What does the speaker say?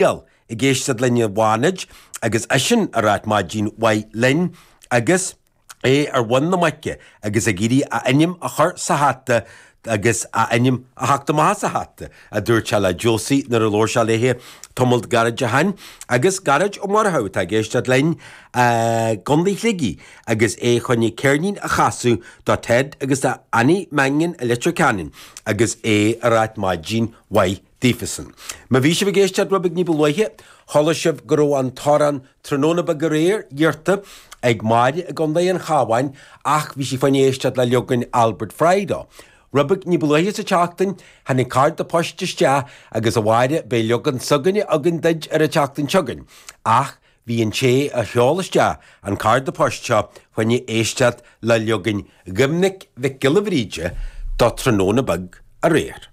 Ag éisteacht linn i bhFánaid agus eisean ag ráit maidin mhaith linn agus é ar mhuin na muice agus ag iarraidh a ainm a chur sa hata agus a ainm a theacht amach as an hata, a dúirt sé le Josie nuair a labhair sé léi tamalt gairid ó shin. Agus Gearóid Ó Murchú atá ag éisteacht linn i gContae Shligigh agus é chun ceirnín a chasadh do Ted agus do Annie Mannion i Leitir Ceanainn agus é ag ráit maidin mhaith daofasan. Má bhí sibh ag éisteacht rud beag ní ba luaithe, chuala sibh go raibh an t-amhrán Tráthnóna Beag Aréir iarrta ag Máire i gContae an Chabháin ach bhí sí fá choinne éisteacht le leagan Albert Fry dó. Rud beag ní ba luaithe sa tseachtain, tháinig cárta poist isteach agus a Mháire, beidh leagan s'againne againn duid ar an tseachtain seo chugainn. Ach bhí an té a sheol isteach an cárta poist seo fá choinne éisteacht le leagan Dhoiminic Mhic Giolla Bhríde do Tráthnóna Beag Aréir.